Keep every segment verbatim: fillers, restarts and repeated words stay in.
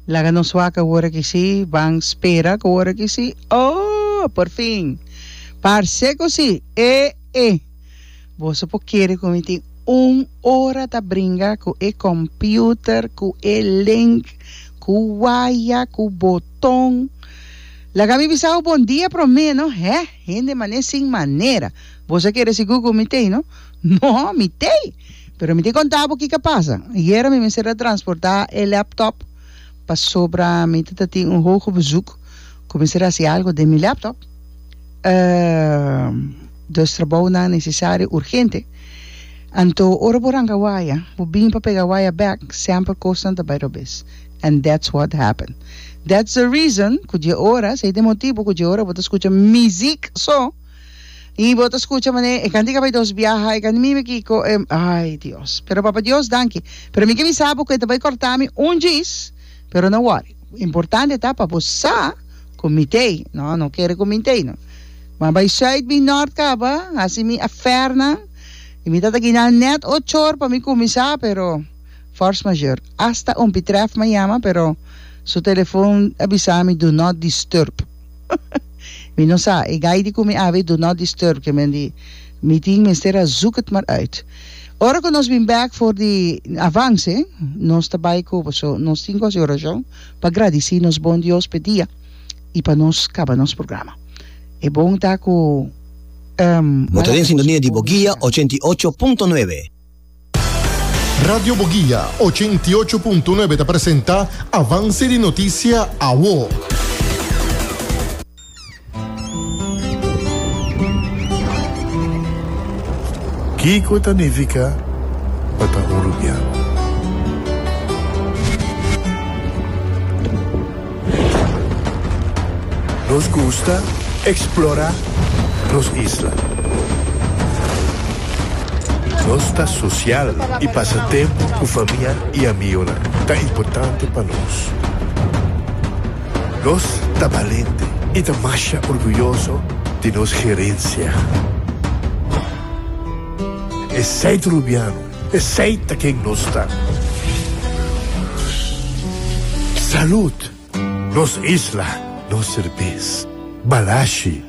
Laga nos wak awor aki si, ban spera ku awor aki si. Oh, por fin. Parse ku si. E, e. Boso por kere ku mi tin un ora ta bringa ku e computer, ku e link, ku waya, ku boton. Laga mi bisa bo bon dia promé, no? Hè? Hende mané sin manera. Boso a kere sigur ku mi tei, no? No, mi tei. Pero mi tin konta bo kiko a pasa. Ayera mi mester a transportá e laptop pasobra mi ta tin un hoge bezoek ku mester hasi algo den mi laptop. Dus trabounan nesesario urgente. Anto ora bo ranka waya, bo bin pa pega waya bek, semper kosnan ta bai robes. And that's what happened. That's the reason ku dje ora, esei ta e motibu ku dje ora bo ta skucha mizik so, i bo ta skucha manera e kantika bai dos biaha, e kanti mimi kiko, e, ai Dios. Pero Papa Dios danki. Pero mi ke bisa bo ku e ta bai kòrta mi un djis, pero no wòri. Importante ta pa bo sa ku mi t'ei. No, no kere ku mi t'ei no. Ma bai sùit bin nòrt kaba, hasi mi afèrnan, i mi ta ta gina nèt ochor pa mi kuminsá, pero force majeure. Asta un pitrèf m'a yama, pero su telefon a bisa mi do not disturb. Mi no sa, e gai di ku mi awe do not disturb, ke men di mi tin mester a zoek het maar uit. Ora ku nos bin bèk for di Avance, nos ta bai ku paso nos tin ku hasi orashon pa gradisí nos bon Dios p'e dia i pa nos kaba nos programa. E bon ta ku Bo ta den sintonia di Boguia ochenta i ocho punto nuebe. Radio Boguia ochenta i ocho punto nuebe ta presenta Avance di Noticia Awo. Kiko ta nifiká pa ta un rubiano? Nos gusta eksplorá nos isla. Nos ta sosial i pasa tempu ku famia i amigonan ta importante pa nos. Nos ta balente i ta masha orguyoso di nos gerensia. Esei ta Rubiano, esei ta ken nos ta. Salud! Nos isla, nos serbes. Balashi.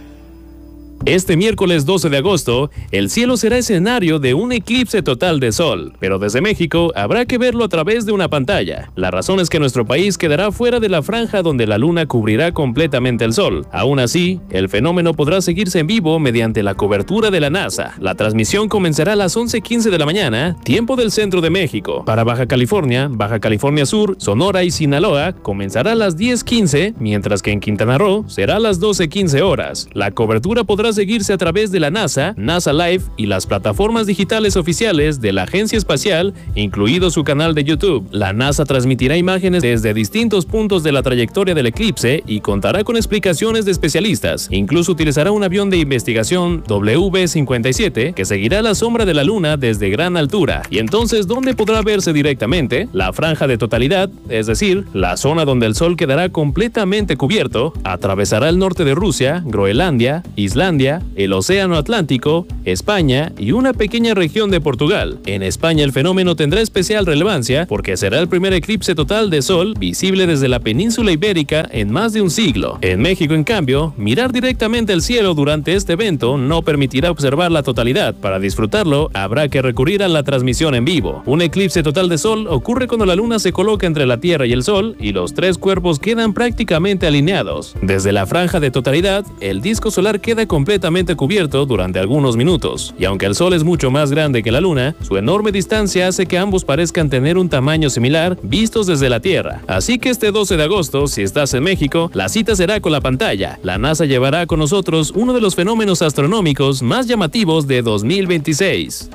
Este miércoles doce de agosto, el cielo será escenario de un eclipse total de sol, pero desde México habrá que verlo a través de una pantalla. La razón es que nuestro país quedará fuera de la franja donde la luna cubrirá completamente el sol. Aún así, el fenómeno podrá seguirse en vivo mediante la cobertura de la NASA. La transmisión comenzará a las once quince de la mañana, tiempo del centro de México. Para Baja California, Baja California Sur, Sonora y Sinaloa, comenzará a las diez quince, mientras que en Quintana Roo será a las doce quince horas. La cobertura podrá seguirse a través de la NASA, NASA Live y las plataformas digitales oficiales de la Agencia Espacial, incluido su canal de YouTube. La NASA transmitirá imágenes desde distintos puntos de la trayectoria del eclipse y contará con explicaciones de especialistas. Incluso utilizará un avión de investigación W cincuenta y siete que seguirá la sombra de la Luna desde gran altura. Y entonces, ¿dónde podrá verse directamente? La franja de totalidad, es decir, la zona donde el Sol quedará completamente cubierto, atravesará el norte de Rusia, Groenlandia, Islandia, el Océano Atlántico, España y una pequeña región de Portugal. En España el fenómeno tendrá especial relevancia porque será el primer eclipse total de sol visible desde la península ibérica en más de un siglo. En México, en cambio, mirar directamente el cielo durante este evento no permitirá observar la totalidad. Para disfrutarlo, habrá que recurrir a la transmisión en vivo. Un eclipse total de sol ocurre cuando la luna se coloca entre la Tierra y el Sol y los tres cuerpos quedan prácticamente alineados. Desde la franja de totalidad, el disco solar queda completamente cubierto durante algunos minutos, y aunque el Sol es mucho más grande que la Luna, su enorme distancia hace que ambos parezcan tener un tamaño similar vistos desde la Tierra. Así que este doce de agosto, si estás en México, la cita será con la pantalla. La NASA llevará con nosotros uno de los fenómenos astronómicos más llamativos de dos mil veintiséis.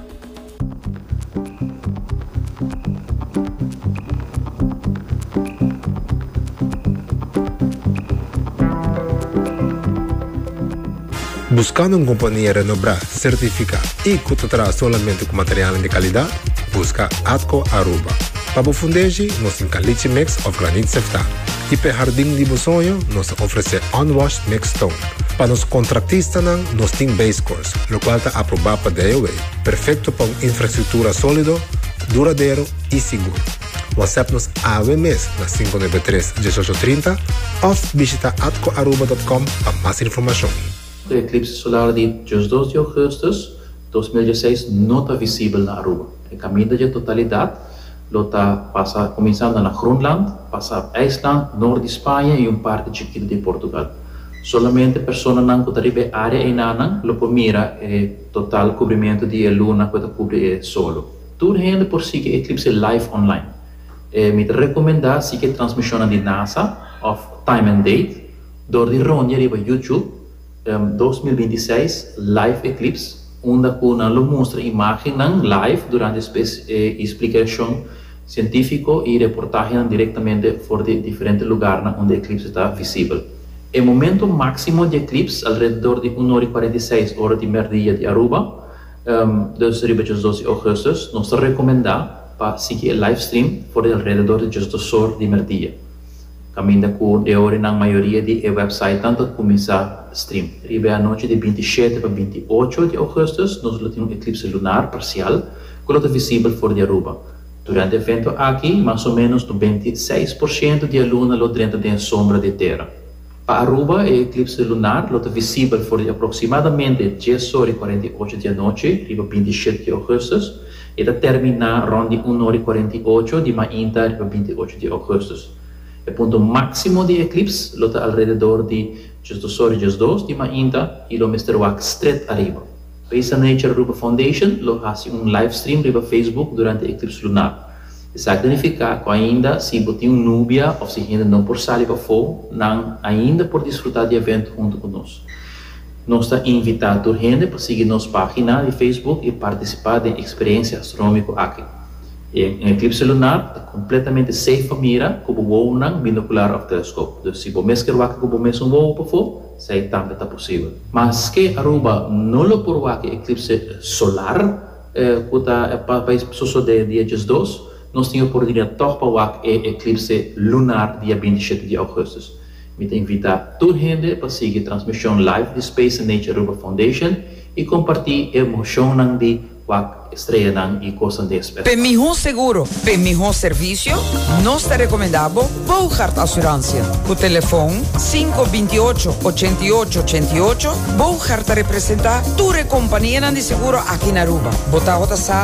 Buscando un compania renobrá, certificá y cu ta traha solamente cu materialnan di calidad? Busca Atco Aruba. Pa bo fundeshi, nos tin caliche mix of granit seftá. Y p'e hardin di bo soño, nos ta ofrece unwashed mixed stone. Pa nos contractistanan, nos tin base course, locual ta aprobá pa D O W, perfecto pa un infrastructura solido, duradero y sigur. WhatsApp nos awe mes na sinku nuebe tres, diesocho trinta of bishita atcoaruba punto com pa mas informacion. E eclipse solar di diesdos di augustus dos mil diesseis no ta visibel na Aruba. E caminda di totalidad lo ta pasa cuminsando na Groenland, pasa IJsland, noord di Spaña y un parti chikito di Portugal. Solamente personanan cu ta riba e area einan lo por mira e total cubrimento di luna cu ta cubri e solo. Tur hende por sigui eclipse live online. Eh, mi ta recomenda sigui transmision di NASA of Time and Date door di rondia riba YouTube um, dos mil bintiseis Live Eclipse, unda cu nan lo mustra imagen live durante e explicacion cientifico y reportahe directamente for di diferente lugar unda e eclipse ta visibel. E momento maximo di eclipse, alrededor di un or y cuarenta y seis ora di merdia di Aruba, um, dus riba diesdos di augustus, nos ta recomenda pa sigui e live stream for di alrededor di diesdos or di merdia. Caminda cu e ora na mayoria di website ta cuminsa stream. Riba anochi di bintishete pa bintiocho di augustus, nos tin un eclipse lunar parcial cu ta visibel for di Aruba. Durante e evento aki, mas o menos nobenta i seis porciento di luna lo drenta den sombra di tera. Pa Aruba, e eclipse lunar lo ta visibel for di aproximadamente dies or y cuarenta y ocho di anochi, riba bintishete di augustus, y ta termina rond di un or y cuarenta y ocho di mainta, riba bintiocho di augustus. E punto maximo di eclipse lo ta alrededor di diesdos or y diesdos di mainta y lo mester wak straight ariba. Space and Nature Aruba Foundation lo haci un live stream riba Facebook durante e eclipse lunar. Esaki ta significa cu ainda si bo tin un nubia of si hende no por sali pafo, nan ainda por disfruta di e evento hunto cu nos. Nos ta invita tur hende pa sigui nos pagina di Facebook y participa den e experiencia astronomico aki. E eclipse lunar ta completamente safe pa mira cu bo binocular of telescope. Dus si bo mes kier wak cu bo mes wowo pafo, esey tambe ta posibel. Maske Aruba no lo por wak eclipse solar, eh, cu ta pa sucede dia diesdos, nos tin oportunidad toch pa wak e eclipse lunar dia bintishete di augustus. Mi ta invita tur hende pa sigui transmision live di Space and Nature Aruba Foundation y comparti emocion di wak streanan y cos di especie. Pa miho seguro, pa miho servicio, nos ta recomenda Bogart Assurantie. Cu telefon sinku binti'ocho, ochenti'ocho, ochenti'ocho, Bogart ta representa tur compania di seguro aki na Aruba. Bo ta sa.